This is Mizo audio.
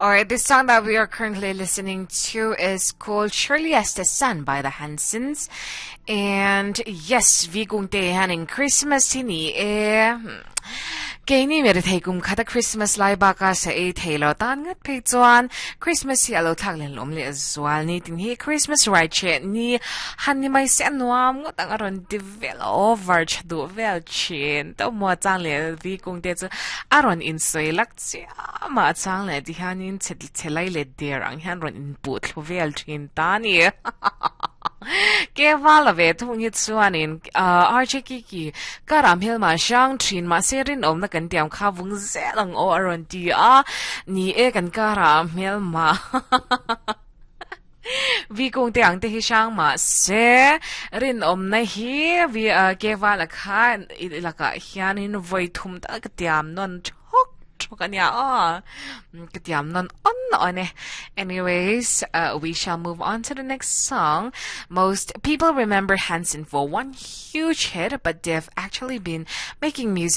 Alright, this song that we are currently listening to is called Surely as the Sun by the Hansons. And yes, vi kung te hanin Christmas hi ni e. Keini mi rethei kum khata Christmas lai baka sa e thei lo tan ngat phei chuan Christmas hi alo thlak len lawm leh zual ni tin hi Christmas rai che ni han ni mai se anuam ngawt ang a rawn ti vel over tha duh vel thin to maw chang leh vi kung te chu a rawn insawi lak chiam a chang leh ti hianin chhe chhe lai leh der ang hian rawn inpuh thlu vel thin ta a ni. Ke val a ve thung hi chuanin RJ Kiki karah hmelma hrang thin mahse rinawmna kan tiam kha vung zel ang aw a rawn ti a, ni e kan karah hmelma vi kung te ang te hi hrang mahse rinawmna hi vi ke val a kha lakah hianin vawi thum tal ka tiam nawn thawk thawk a nia aw ka tiam nawn awn awn e. Anyways, we shall move on to the next song. Most people remember Hanson for one huge hit, but they've actually been making music.